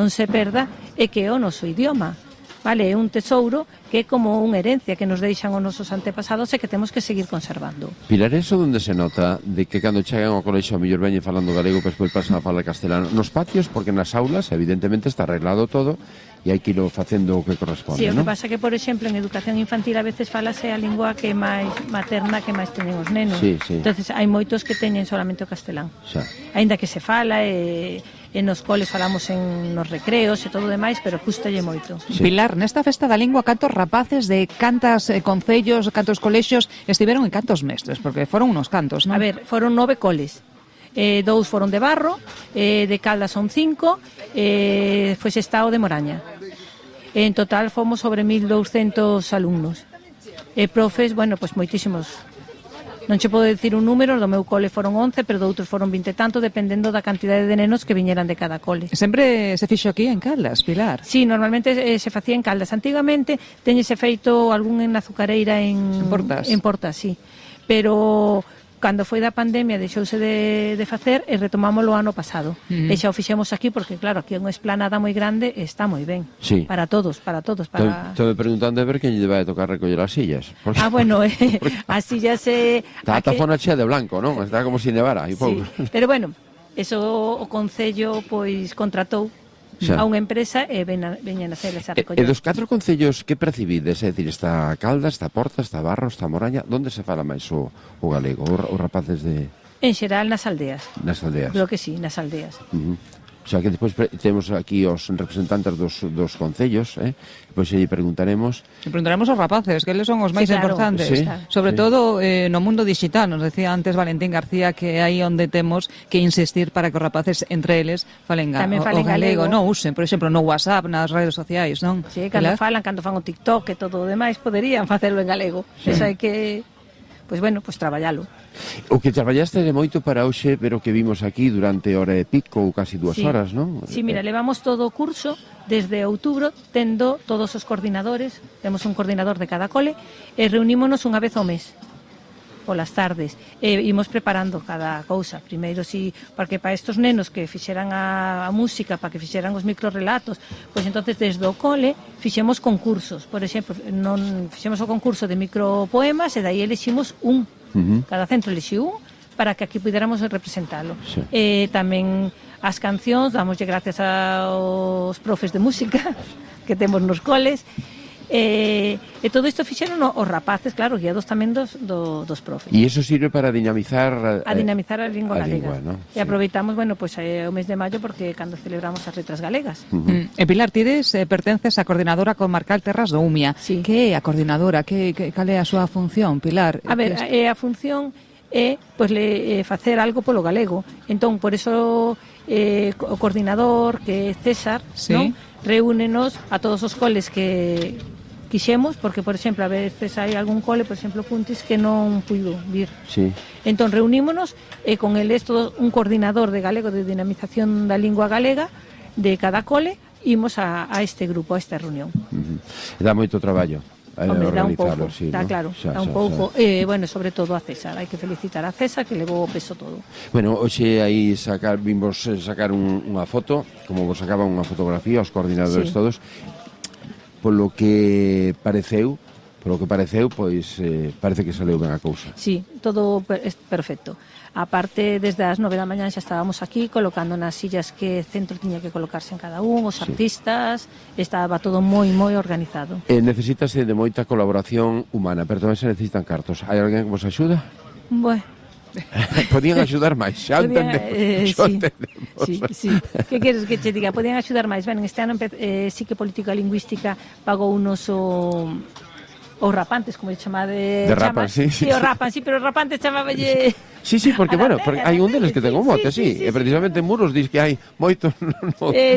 non se perda é que é o noso idioma. Vale, é un tesouro que é como unha herencia que nos deixan os nosos antepasados e que temos que seguir conservando. Pilar, eso onde se nota de que cando chegan ao colexio a mellor veñen falando galego, pero despois pasan a falar castelano? Nos patios, porque nas aulas evidentemente está arreglado todo e hai que irlo facendo o que corresponde, Sí, o que non? pasa que, por exemplo, en educación infantil a veces falase a lingua que é máis materna que máis teñen os nenos. Sí, sí. Entonces hai moitos que teñen solamente o castelán. Xa. Aínda que se fala e nos coles falamos nos recreos e todo o demais, pero custalle moito. Sí. Pilar, nesta festa da lingua, cantos rapaces de cantas concellos, cantos colexios estiveron e cantos mestres? Porque foron unos cantos, non? A ver, foron 9 coles. 2 foron de Barro, de Caldas son 5, foi Sestao de Moraña. En total fomos sobre 1.200 alumnos. Profes, bueno, pues moitísimos. Non che podo dicir un número, do meu cole foron 11, pero do outros foron 20 e tanto, dependendo da cantidade de nenos que viñeran de cada cole. Sempre se fixo aquí en Caldas, Pilar? Sí, normalmente se facía en Caldas. Antigamente teñese feito algún en Azucareira en Portas. En Portas, sí. Pero cando foi da pandemia deixouse de facer e retomámoslo ano pasado. E xa o fixemos aquí porque, claro, aquí é unha esplanada moi grande e está moi ben. Sí. Para todos. Estou preguntando a ver quen lle vai a tocar recoller as sillas. Ah, bueno, as sillas... Está a tafona chea de blanco, non? Está como se nevara. Sí, pero bueno, eso o Concello pois contratou a unha empresa e veñen a hacer esa recollida. E dos 4 concellos que percibides? É dicir, está Caldas, está Porta, está Barro, está Moraña. Onde se fala máis o galego? Os rapaces de... En xeral nas aldeas. Nas aldeas. Creo que sí, nas aldeas. O sea, que despois temos aquí os representantes dos concellos, Depois lle preguntaremos... Aos rapaces, que eles son os máis importantes. Sí, sobre todo no mundo digital. Nos decía antes Valentín García que aí onde temos que insistir para que os rapaces entre eles falen o galego. Non usen, por exemplo, no WhatsApp, nas redes sociais, non? Sí, cando fan o TikTok e todo o demais, poderían facelo en galego. Sí. Eso hai que... Pois bueno, pois traballalo. O que traballaste de moito para hoxe, pero que vimos aquí durante hora e pico ou casi 2 horas, non? Sí, mira, levamos todo o curso desde outubro, tendo todos os coordinadores, temos un coordinador de cada cole, e reunímonos unha vez ao mes, polas tardes, e imos preparando cada cousa. Primeiro, sí, porque para estos nenos que fixeran a música, para que fixeran os microrelatos, pois entonces desde o cole fixemos concursos. Por exemplo, non fixemos o concurso de micropoemas e dai eliximos un. Cada centro elixiu un para que aquí puidéramos representalo. Sí. Tamén as cancións, damoslle gracias aos profes de música que temos nos coles. E todo isto fixeron os rapaces, claro, guiados tamén dos profes. E iso sirve para dinamizar a lingua galega, ¿no? E aproveitamos, bueno, pois o mes de maio porque cando celebramos as letras galegas. E Pilar, tides pertences á coordinadora comarcal Terras do Umia. Sí. Que é a coordinadora? Cal é a súa función, Pilar? A ver, a función é pois facer algo polo galego. Entón, por eso o coordinador, que é César, sí, non? Reúnenos a todos os coles que quixemos, porque, por exemplo, a veces hai algún cole, por exemplo, Puntis, que non puido vir. Sí. Entón, reunímonos e con eles todo un coordinador de galego de dinamización da lingua galega de cada cole, imos a este grupo, a esta reunión. Dá moito traballo. Hombre, dá un pouco, sí, dá ¿no? claro, dá un pouco. Bueno, sobre todo a César, hai que felicitar a César que levou o peso todo. Bueno, hoxe aí vimos sacar unha foto, como vos sacaban unha fotografía, os coordinadores todos. Polo que pareceu, pois parece que saleu ben a cousa. Sí, todo perfecto. A parte, desde as 9 da mañá xa estábamos aquí colocando nas sillas que centro tiña que colocarse en cada un, os artistas, estaba todo moi organizado. Necesítase de moita colaboración humana, pero tamén se necesitan cartos. Hai alguén que vos axuda? Bueno. Podían axudar máis, xa entendemos. Sí. Que queres que che diga? Podían axudar máis. Ben, este ano sí que política lingüística pagou unos os rapantes, como lle chama de rapan, sí. Sí, o rapan, sí, pero o rapante chamáballe... Sí, porque, bueno, hai un deles que ten un mote, sí. E precisamente en Muros dis que hai moito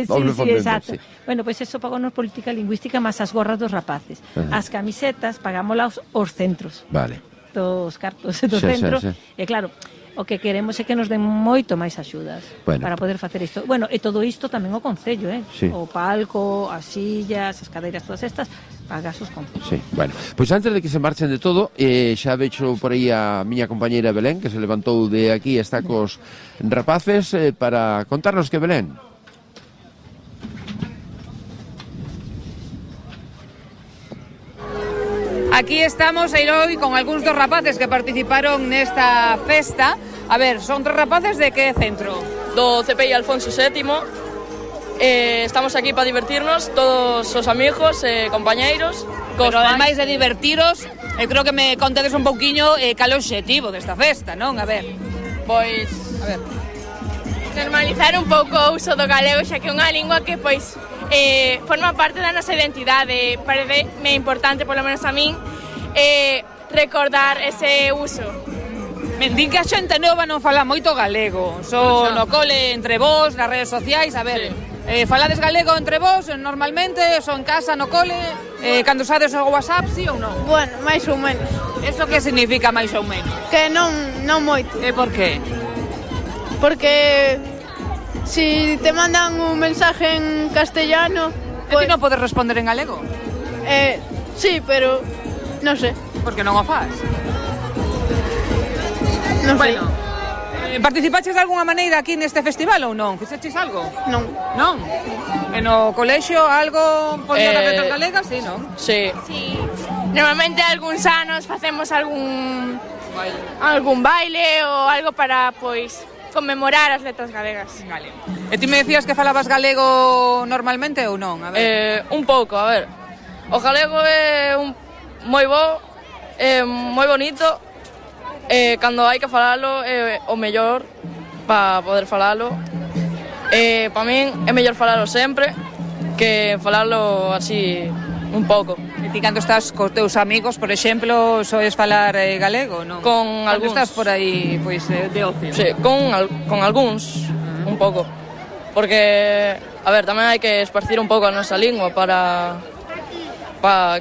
doble fomento. Exacto. Bueno, pois eso pagou nos política lingüística máis as gorras dos rapaces. As camisetas pagámolas os centros. Vale. Dos cartos do centro. E claro, o que queremos é que nos den moito máis axudas para poder facer isto. Bueno, e todo isto tamén o Concello, Sí. O palco, as sillas, as cadeiras, todas estas, pagas os concellos. Sí, bueno, pois antes de que se marchen de todo, xa vexo por aí a miña compañeira Belén, que se levantou de aquí e está cos rapaces para contarnos que Belén. Aquí estamos hoy con algúns dos rapaces que participaron nesta festa. A ver, son 3 rapaces de que centro? Do CPI Alfonso VII. Estamos aquí para divertirnos, todos os amigos, compañeiros. Pero ademais de divertiros, creo que me contedes un pouquiño cal é o obxectivo desta festa, non? A ver. Pois, a ver, normalizar un pouco o uso do galego, xa que é unha lingua que, pois, forma parte da nosa identidade. Pareceme importante, polo menos a min, recordar ese uso. Me din que a xente nova non fala moito galego, no cole entre vós, nas redes sociais, a ver... Sí. Falades galego entre vós normalmente, son en casa, no cole, cando usades o WhatsApp, sí ou non? Bueno, máis ou menos. Eso que significa máis ou menos? Que non moito. E por qué? Porque si te mandan un mensaje en castellano... Pues... E ti non podes responder en galego? Sí, pero non sei. Por que non o faz? Non sei. Participaches de alguna maneira aquí neste festival ou non? Fixeches algo? Non. Non? E no colexio algo poñer as letras galegas? Sí, non? Sí. Normalmente algúns anos facemos algún baile ou algo para, pois, conmemorar as letras galegas. Vale. E ti me decías que falabas galego normalmente ou non? A ver. Un pouco, a ver. O galego é moi bo, moi bonito. Cando hai que falalo é o mellor para poder falalo. Para min é mellor falalo sempre que falalo así un pouco. E ti cando estás cos teus amigos, por exemplo, soes falar galego, non? Con algúns. Cando estás por aí, pois, de ocio. Sí, con algúns, un pouco. Porque, a ver, tamén hai que esparcir un pouco a nosa lingua para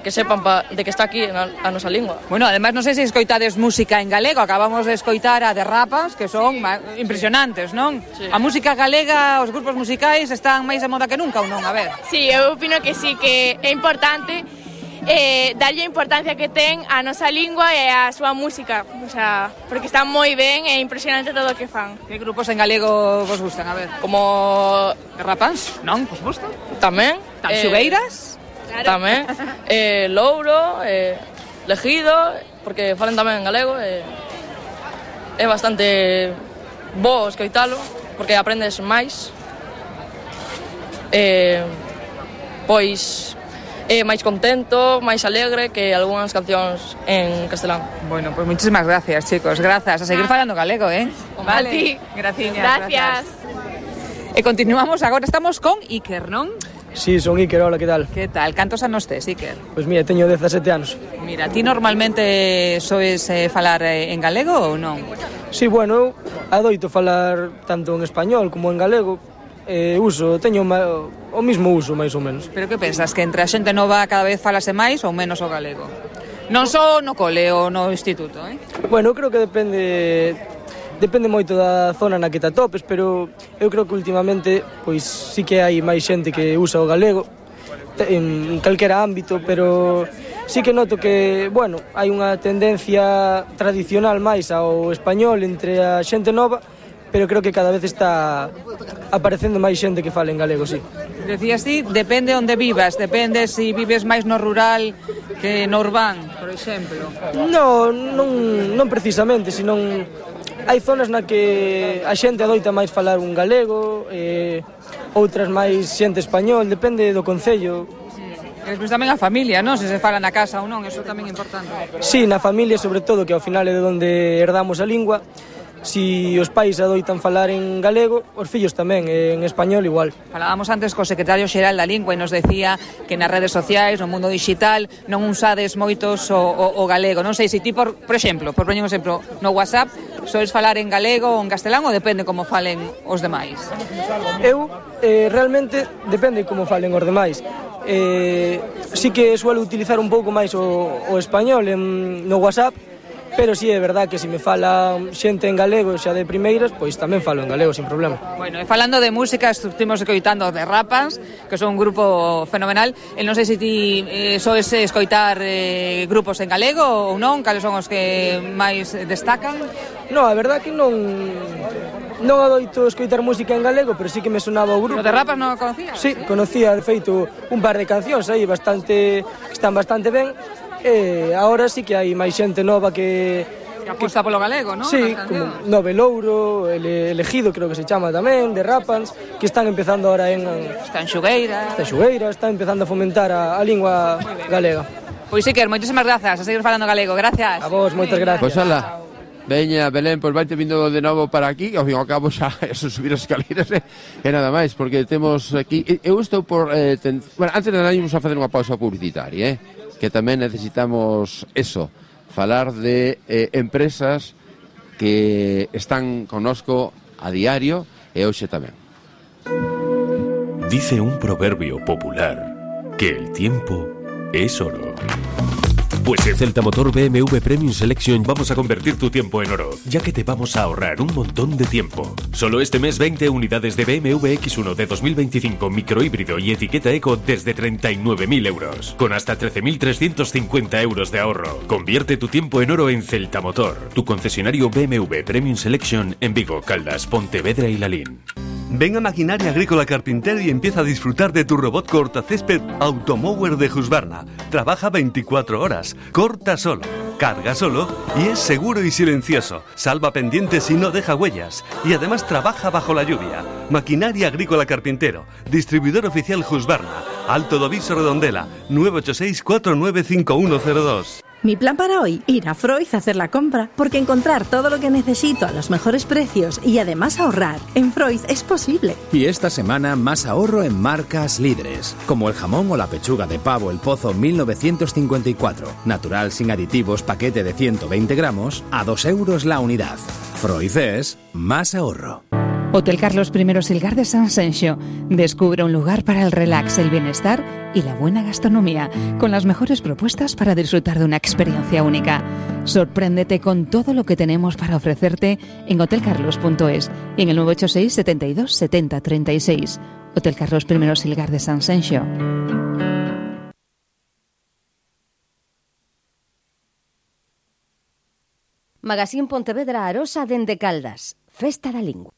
que sepan de que está aquí a nosa lingua. Bueno, además non sei se escoitades música en galego, acabamos de escoitar a de Rapas, que son impresionantes, non? Sí. A música galega, os grupos musicais están máis de moda que nunca ou non? A ver. Sí, eu opino que sí, que é importante darlle a importancia que ten a nosa lingua e a súa música, o sea, porque está moi ben e impresionante todo o que fan. Que grupos en galego vos gustan? A ver. Como de Rapas? Non? Vos gustan? Tamén. Tanxugueiras? Claro. Tamén, Louro, Legido, porque falan tamén en galego, é bastante bo escoitalo, porque aprendes máis, pois é máis contento, máis alegre que algunhas cancións en castelán. Bueno, pues muchísimas gracias, chicos, grazas, a seguir falando galego, Vale. A ti. Gracias. E continuamos, agora estamos con Iker, non? Sí, son Iker, hola, que tal? Que tal? Cantos anos tes, Iker? Pois mira, teño 17 anos. Mira, ti normalmente soes falar en galego ou non? Sí, bueno, adoito falar tanto en español como en galego. Teño o mismo uso, máis ou menos. Pero que pensas, que entre a xente nova cada vez falase máis ou menos o galego? Non só no cole ou no instituto, Bueno, creo que depende moito da zona na que te atopes, pero eu creo que últimamente pois sí que hai máis xente que usa o galego en calquera ámbito, pero sí que noto que, bueno, hai unha tendencia tradicional máis ao español entre a xente nova, pero creo que cada vez está aparecendo máis xente que fala en galego, sí. Decías ti, depende onde vivas, depende se vives máis no rural que no urbán, por exemplo. Non precisamente, senón hai zonas na que a xente adoita máis falar un galego, outras máis xente español, depende do concello. E despois tamén a familia, non? Se fala na casa ou non, eso tamén é importante. Sí, na familia, sobre todo, que ao final é de onde herdamos a lingua. Si os pais adoitan falar en galego, os fillos tamén, en español igual. Falábamos antes co secretario xeral da Lingua e nos decía que nas redes sociais, no mundo digital, non usades moitos o galego. Non sei se ti, por exemplo, por poñer un exemplo, no WhatsApp, sois falar en galego ou en castelán ou depende como falen os demais? Eu, realmente, depende como falen os demais. Sí que suelo utilizar un pouco máis o español no WhatsApp, pero sí é verdad que se me fala xente en galego xa de primeiras, pois tamén falo en galego sin problema. Bueno, e falando de música, estuvimos escoitando de Rapas, que son un grupo fenomenal. E non sei se ti soes escoitar grupos en galego ou non, cales son os que máis destacan? Non, a verdad que non adoito escoitar música en galego, pero sí que me sonaba o grupo. O de Rapas non o conocías? Sí, conocía, de feito, un par de cancións aí que están bastante ben. E agora sí que hai máis xente nova que aposta polo galego, non? Sí, como Nove Louro, el Ejido creo que se chama tamén, de Rapans, que están empezando ahora Está en Xugueira. Está empezando a fomentar a lingua galega. Pois sí, que moitísimas grazas, a seguir falando galego, gracias. A vos, moitas gracias. Pois ala, veña, Belén, pois vaite vindo de novo para aquí, ao fin e ao cabo xa eso subir as escaleras e nada máis, porque temos aquí, eu estou por, bueno, antes de nada íamos a facer unha pausa publicitaria, que tamén necesitamos eso, falar de empresas que están connosco a diario e hoxe tamén. Dice un proverbio popular que el tiempo es oro. Pues en Celta Motor BMW Premium Selection vamos a convertir tu tiempo en oro, ya que te vamos a ahorrar un montón de tiempo. Solo este mes 20 unidades de BMW X1 de 2025 microhíbrido y etiqueta eco desde 39.000 euros, con hasta 13.350 euros de ahorro. Convierte tu tiempo en oro en Celta Motor, tu concesionario BMW Premium Selection en Vigo, Caldas, Pontevedra y Lalín. Ven a Maquinaria Agrícola Carpintero y empieza a disfrutar de tu robot cortacésped Automower de Husqvarna. Trabaja 24 horas, corta solo, carga solo y es seguro y silencioso. Salva pendientes y no deja huellas. Y además trabaja bajo la lluvia. Maquinaria Agrícola Carpintero, distribuidor oficial Husqvarna, Alto Doviso Redondela, 986 495102. Mi plan para hoy, ir a Freud a hacer la compra, porque encontrar todo lo que necesito a los mejores precios y además ahorrar en Freud es posible. Y esta semana más ahorro en marcas líderes, como el jamón o la pechuga de pavo El Pozo 1954, natural sin aditivos, paquete de 120 gramos, a 2 euros la unidad. Freud es más ahorro. Hotel Carlos I Silgar de San Senxo. Descubre un lugar para el relax, el bienestar y la buena gastronomía, con las mejores propuestas para disfrutar de una experiencia única. Sorpréndete con todo lo que tenemos para ofrecerte en hotelcarlos.es y en el 986 72 70 36. Hotel Carlos I Silgar de San Senxo. Magazín Pontevedra Arosa dende Caldas. Festa da Lingua.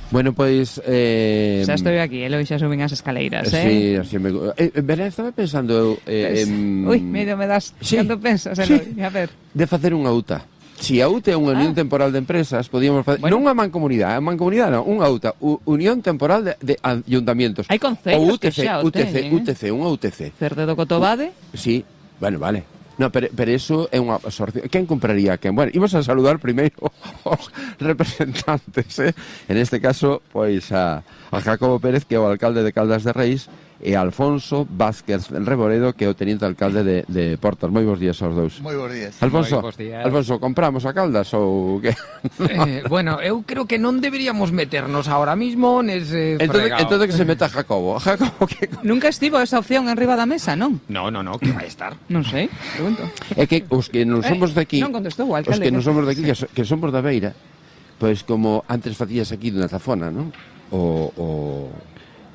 Bueno, pois... xa estou aquí, Eloi, xa subín as escaleiras, Sí, así me... Verá, estaba pensando... Ui, medio me das, sí, cando pensas, Eloi, a ver. De facer unha UTA. Si a UTA é unha unión temporal de empresas, podíamos facer... Bueno. Non unha mancomunidade, non, unha UTA, unión temporal de ayuntamientos. Hai concellos que xa o ten, UTC, unha UTC. Cerde do Cotobade? Sí, bueno, vale. No, pero eso é unha absorción. Quen compraría quen? Bueno, imos a saludar primeiro os representantes, En este caso, pois a Jacobo Pérez, que é o alcalde de Caldas de Reis, e a Alfonso Vázquez Reboredo, que é o teniente alcalde de Portas. Moi bons días aos dous. Moi bons días. Alfonso, compramos a Caldas ou que? Bueno, eu creo que non deberíamos meternos ahora mismo nese fregado. Entonces que se meta Jacobo. Jacobo que... Nunca estivo esa opción enriba da mesa, non? No, que vai estar. Non sei, pregunto. É que os que non somos de aquí, non contestou o alcalde. Os que non somos de aquí, que somos da Beira, pois como antes facías aquí na Zafona, non?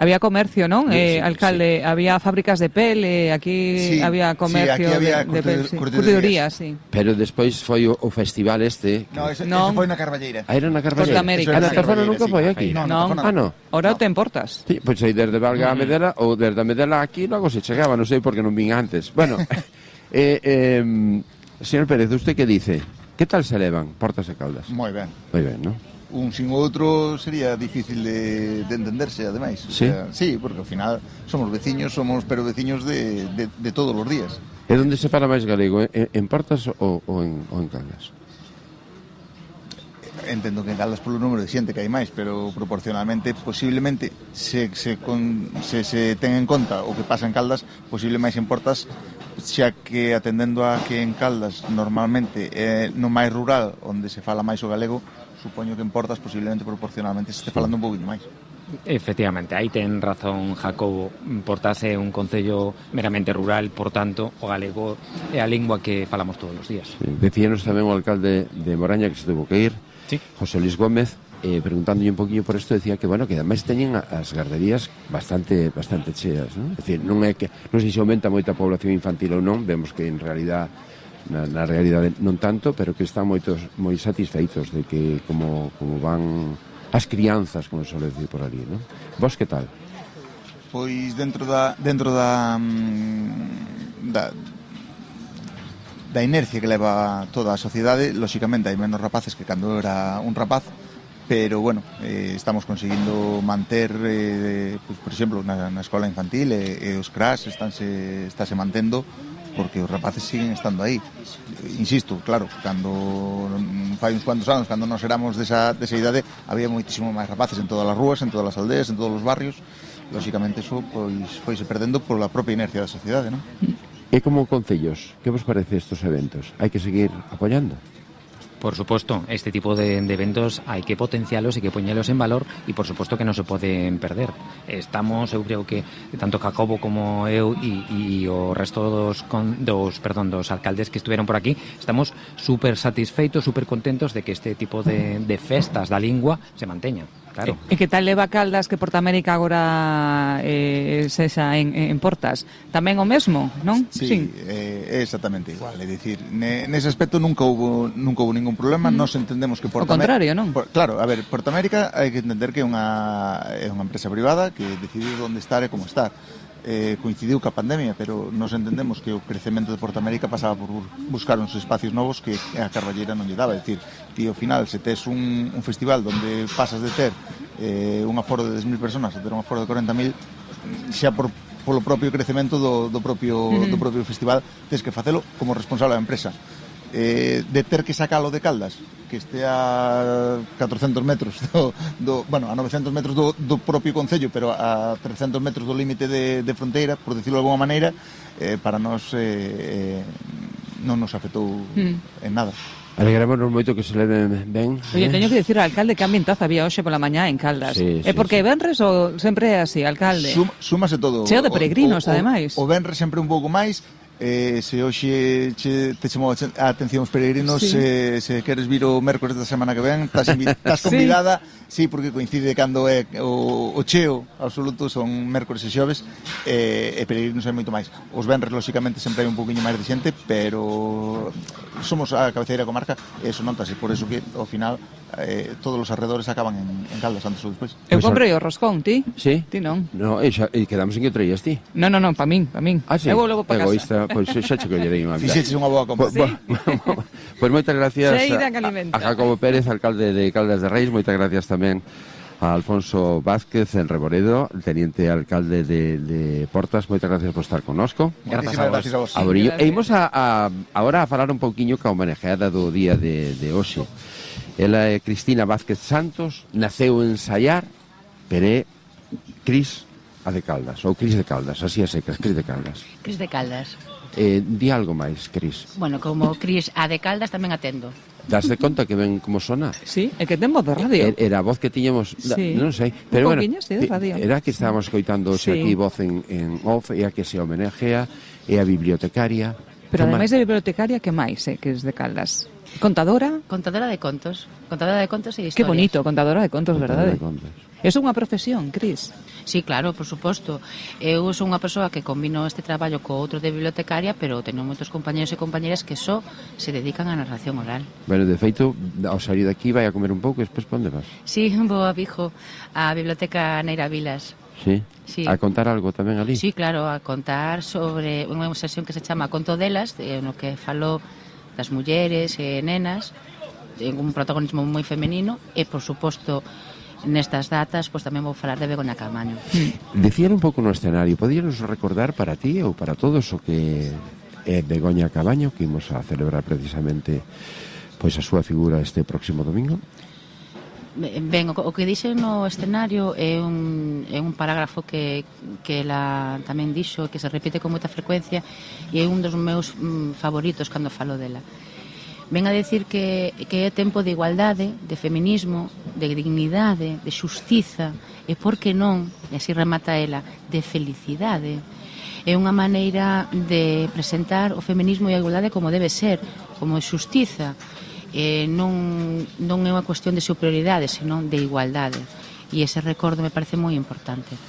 Había comercio, non? Sí, alcalde, sí. Había fábricas de pel, aquí había comercio de pel, curtiduría, sí. Pero despois foi o festival este. No, ese foi na Carballeira. Era na Carballeira. Costa América. Na Zafona nunca foi aquí. Non. Ora te importas. Sí, pois aí desde Valga a Medela ou desde a Medela aquí logo se chegaba, non sei porque non vin antes. Bueno, señor Pérez, usted que dice? Que tal se levan Portas e Caldas? Moi ben. Moi ben, non? Un sin outro sería difícil de entenderse, ademais. Sí? Sí, porque ao final somos veciños, pero veciños de todos os días. E onde se fala máis galego? En Portas ou en Caldas? Entendo que en Caldas polo número de xente que hai máis, pero proporcionalmente, posiblemente, se ten en conta o que pasa en Caldas, posible máis en Portas, xa que atendendo a que en Caldas normalmente é no máis rural onde se fala máis o galego, supoño que en Portas posiblemente proporcionalmente se este falando un pouquinho máis. Efectivamente, aí ten razón Jacobo. Portas é un concello meramente rural, por tanto, o galego é a lingua que falamos todos os días. Sí. Decíanos tamén o alcalde de Moraña que se tuvo que ir, sí. José Luis Gómez, preguntándolle un poquinho por isto, decía que, bueno, que ademais teñen as garderías bastante cheas, non? É dicir, non sei se aumenta moita población infantil ou non, vemos que en realidad na realidade non tanto, pero que están moi satisfeitos de que como van as crianzas, como se suele decir por ali, non? Vos que tal? Pois dentro da inercia que leva toda a sociedade, lóxicamente hai menos rapaces que cando era un rapaz, pero bueno, estamos conseguindo manter, pues, por exemplo, na escola infantil e os crash estáse mantendo porque os rapaces siguen estando aí. Insisto, claro, cando fai uns cuantos anos, cando nos éramos desa idade, había moitísimo máis rapaces en todas as rúas, en todas as aldeas, en todos os barrios. Lóxicamente iso pois foise perdendo pola propia inercia da sociedade, non? E como concellos, que vos parece estes eventos? Hai que seguir apoiando? Por supuesto, este tipo de eventos hai que potencialos e que poñelos en valor e por suposto que non se poden perder. Estamos, eu creo que tanto Jacobo como eu e o resto dos alcaldes que estiveron por aquí, estamos super satisfeitos, super contentos de que este tipo de festas da lingua se manteña. Claro. E que tal leva Caldas que Portamérica agora sexa en Portas? Tamén o mesmo, non? Sí. É exactamente igual. É dicir, nese aspecto nunca hubo ningún problema. Nos entendemos que Portamérica... O contrario, non? Claro, a ver, Portamérica hai que entender que é unha empresa privada que decidiu onde estar e como estar. Coincidiu ca pandemia, pero nos entendemos que o crecemento de Portamérica pasaba por buscar uns espacios novos que a Carballeira non lle daba. É dicir, ti ao final, se tes un festival onde pasas de ter un aforo de 10.000 personas a ter un aforo de 40.000, xa polo propio crecemento do propio festival, tes que facelo como responsable da empresa. De ter que sacalo de Caldas, que este a 400 metros a 900 metros do propio concello, pero a 300 metros do límite de fronteira, por decirlo de alguma maneira, para nós non nos afectou en nada. Alegrámonos moito que se leven ben. Oye, teño que dicir ao alcalde que ambientazo había hoxe pola mañá en Caldas. É porque venres ou sempre é así, alcalde? Súmase todo. Cheo de peregrinos, ademais. O venres sempre un pouco máis. Se hoxe te chamou a atención os peregrinos, se queres vir o mércores da semana que ven, estás convidada. Sí, porque coincide cando é o cheo absoluto, son mércores e xoves, e peregrinos é moito máis. Os venres, lóxicamente, sempre hai un pouquiño máis de xente, pero somos a cabeceira da comarca e eso notase, por eso que ao final todos os arredores acaban en Caldas antes ou despois. Eu comprei o roscón, ti? Sí? Ti non? No, e quedamos en que o traías ti? Non, pa min. Ah, sí? Eu vou logo para casa. Pois xa che collerei unha vida. Fixeches unha boa compra. Pois moitas gracias a Jacobo Pérez, alcalde de Caldas de Reis, moitas gracias tamén a Alfonso Vázquez en Reboredo, teniente alcalde de Portas, moitas gracias por estar connosco. Gracias a vos. E imos agora a falar un pouquiño ca homenajeada do día de hoxe. Ela é Cristina Vázquez Santos, naceu en Sallar, pero é Cris a de Caldas, ou Cris de Caldas, así é secas, Cris de Caldas. Cris de Caldas. Di algo máis, Cris. Bueno, como Cris a de Caldas tamén atendo. Das de conta que ven como sona? Sí, é que ten voz de radio. Era a voz que tiñamos, sí. Non sei, pero bueno, sí, de radio. Era que estábamos coitando aquí voz en off, e a que se homenajea, e a bibliotecaria. Pero ademais de bibliotecaria, que máis, que es de Caldas? Contadora? Contadora de contos e historias. Que bonito, contadora de contos, verdade? É unha profesión, Cris? Sí, claro, por suposto. Eu sou unha persoa que combino este traballo co outro de bibliotecaria, pero teño moitos compañeros e compañeras que só se dedican á narración oral. Bueno, de feito, ao salir daqui vai a comer un pouco e despois onde vas? Sí, vou a Vigo, a Biblioteca Neira Vilas. Sí? Sí. A contar algo tamén ali? Sí, claro, a contar sobre unha sesión que se chama Conto delas, no que falou das mulleres e nenas, en un protagonismo moi femenino, e, por suposto, nestas datas, pois tamén vou falar de Begoña Caamaño. Decían un pouco no escenario, podíanos recordar para ti ou para todos o que é Begoña Caamaño, que imos a celebrar precisamente pois a súa figura este próximo domingo? Ben, o que dixen no escenario é un parágrafo que ela tamén dixo, que se repite con moita frecuencia, e é un dos meus favoritos cando falo dela. Ven a decir que é tempo de igualdade, de feminismo, de dignidade, de xustiza, e por que non, e así remata ela, de felicidade. É unha maneira de presentar o feminismo e a igualdade como debe ser, como xustiza. Non é unha cuestión de superioridade, senón de igualdade. E ese recordo me parece moi importante.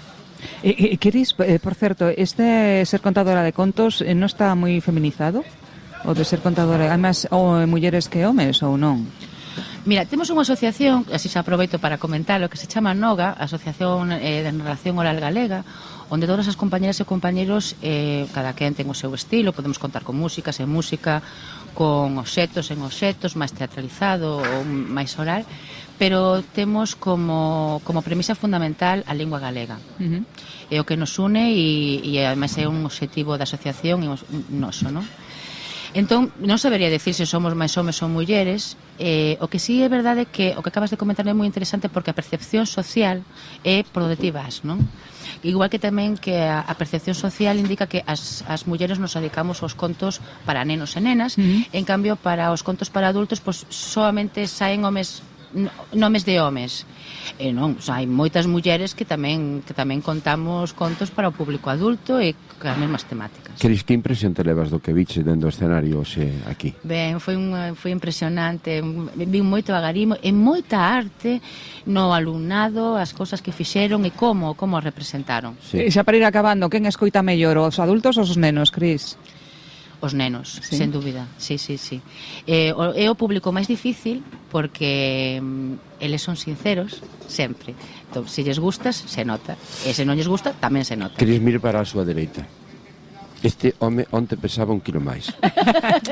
Cris, por certo, este ser contadora de contos non está moi feminizado? O de ser contadora, hai máis mulleres que homes ou non? Mira, temos unha asociación, así se aproveito para comentar, o que se chama NOGA, Asociación de Narración Oral Galega, onde todas as compañeras e compañeros, cada quen ten o seu estilo, podemos contar con música, sen música, con obxectos, en obxectos, máis teatralizado ou máis oral, pero temos como premisa fundamental a lingua galega. É o que nos une e ademais é un obxectivo da asociación e un noso, non? Entón, non sabería decir se somos máis homes ou mulleres. O que sí é verdade que o que acabas de comentar é moi interesante porque a percepción social é por onde ti vas, non? Igual que tamén que a percepción social indica que as mulleres nos dedicamos aos contos para nenos e nenas, en cambio para os contos para adultos pois soamente saen nomes de homes. Non, hai moitas mulleres que tamén contamos contos para o público adulto e as mesmas temáticas. Cris, que impresión te levas do que viche dentro do escenario hoxe aquí? Ben, foi impresionante, vi moito agarimo e moita arte no alumnado, as cousas que fixeron e como representaron. Sí. E xa para ir acabando, quen escoita mellor, os adultos ou os nenos, Cris? Os nenos, sí? Sen dúbida, sí. É o público máis difícil porque eles son sinceros sempre. Entón, se lles gustas, se nota. E se non lles gusta, tamén se nota. Cris, mire para a súa dereita. Este home onte pesaba 1 kilo máis.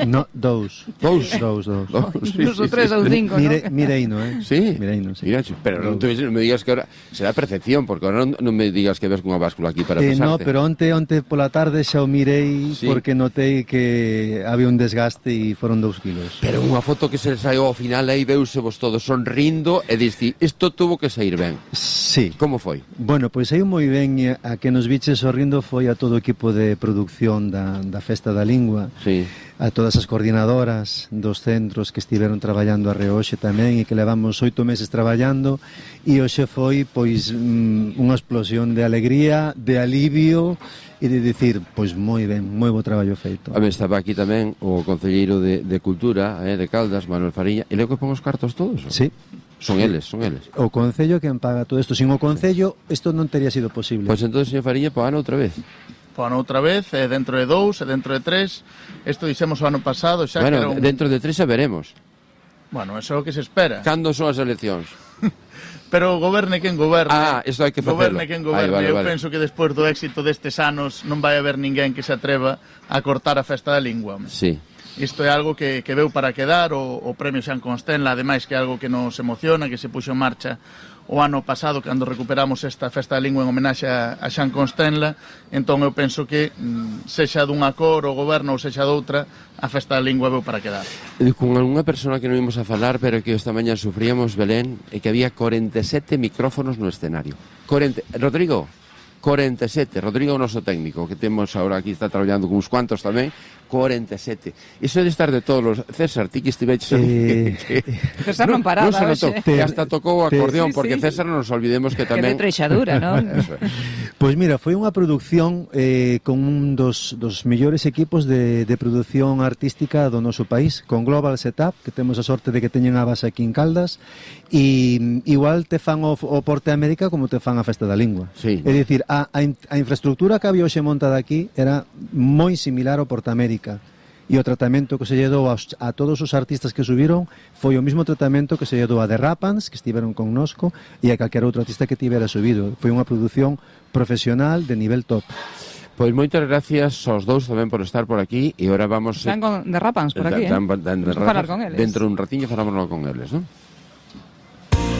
No, 2. 2? 2. Dos ou 3 ou 5, non? Mireino, Sí? Mireino, sí. Mira, pero non me digas que ahora será percepción, porque ahora non me digas que ves cunha báscula aquí para pesarte. No, pero onte pola tarde xa o mirei, sí, porque notei que había un desgaste e foron 2 kilos. Pero unha foto que se saiu ao final aí veuse vos todos sonrindo e diste, isto tuvo que sair ben. Sí. Como foi? Bueno, pois saiu moi ben, a que nos viches sorrindo foi a todo o equipo de producción da Festa da Lingua, sí, a todas as coordinadoras dos centros que estiveron traballando a reoxe tamén e que levamos 8 meses traballando, e hoxe foi pois unha explosión de alegría, de alivio e de dicir, pois moi ben, moi bo traballo feito. A ver, estaba aquí tamén o concelleiro de Cultura, de Caldas, Manuel Fariña, e logo que pon os cartos todos? Sí. Son eles. O Concello quen paga todo isto. Sin o Concello, isto non teria sido posible. Pois entón, señor Fariña, ano outra vez. Outra vez, dentro de 2, dentro de 3. Isto dixemos o ano pasado xa que era dentro de 3 xa veremos. Bueno, eso é o que se espera. Cando son as eleccións? Pero goberne quen goberne. Isto hai que facelo. Goberne quen goberne. Vale. Eu penso que despois do éxito destes anos non vai haber ninguén que se atreva a cortar a Festa da Lingua. Sí. Isto é algo que veu para quedar, o premio Xan Constenla, ademais que é algo que nos emociona, que se puxo en marcha o ano pasado cando recuperamos esta Festa da Lingua en homenaxe a Xan Constenla. Entón eu penso que sexa dunha cor o goberno ou sexa doutra, a Festa da Lingua veu para quedar. Con algunha persona que non ímos a falar, pero que esta mañá sufríamos, Belén, e que había 47 micrófonos no escenario. Rodrigo, 47. Rodrigo, o noso técnico, que temos agora aquí, está traballando con uns cuantos tamén. 47. Iso de estar de todos los... César, ti que estiveches César non paraba, non se notou, que hasta tocou o acordeón, porque César non nos olvidemos que tamén... Que de treixadura, non? Pois mira, foi unha produción con un dos mellores equipos de produción artística do noso país, con Global Setup, que temos a sorte de que teñen a base aquí en Caldas, e igual te fan o Porte América como te fan a Festa da Lingua. Sí. É dicir, a infraestructura que había hoxe montada aquí era moi similar ao Porte América. E o tratamento que se lle dou a todos os artistas que subiron foi o mesmo tratamento que se lle dou a The Rapans, que estiveron connosco, e a calquera outro artista que tivera subido. Foi unha produción profesional de nivel top. Pois moitas gracias aos dous tamén por estar por aquí, e agora vamos... Están con The Rapans por aquí, Vamos a falar con eles. Dentro dun ratiño falámonos con eles, non?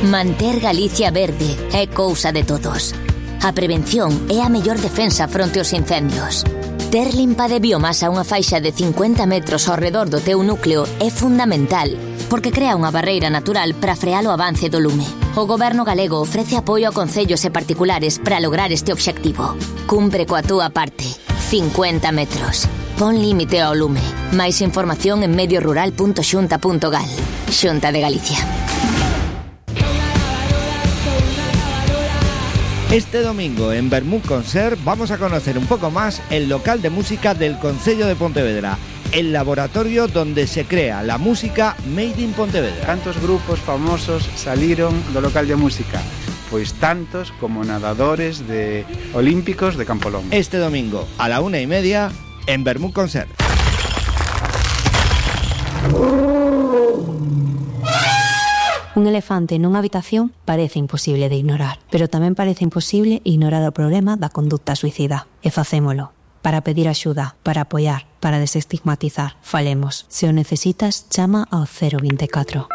Manter Galicia verde é cousa de todos. A prevención é a mellor defensa fronte aos incendios. Ter limpa de biomasa unha faixa de 50 metros ao redor do teu núcleo é fundamental, porque crea unha barreira natural para frear o avance do lume. O Goberno galego ofrece apoio a concellos e particulares para lograr este obxectivo. Cumpre coa túa parte. 50 metros. Pon límite ao lume. Máis información en mediorural.xunta.gal. Xunta de Galicia. Este domingo en Vermut Concert vamos a conocer un poco más el local de música del Concello de Pontevedra, el laboratorio donde se crea la música Made in Pontevedra. Cantos grupos famosos saliron do local de música? Pois tantos como nadadores olímpicos de Campolón. Este domingo a la 1:30 en Vermut Concert. Un elefante nunha habitación parece imposible de ignorar, pero tamén parece imposible ignorar o problema da conducta suicida. E facémolo. Para pedir axuda, para apoiar, para desestigmatizar. Falemos. Se o necesitas, chama ao 024.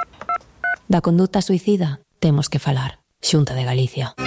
Da conducta suicida temos que falar. Xunta de Galicia.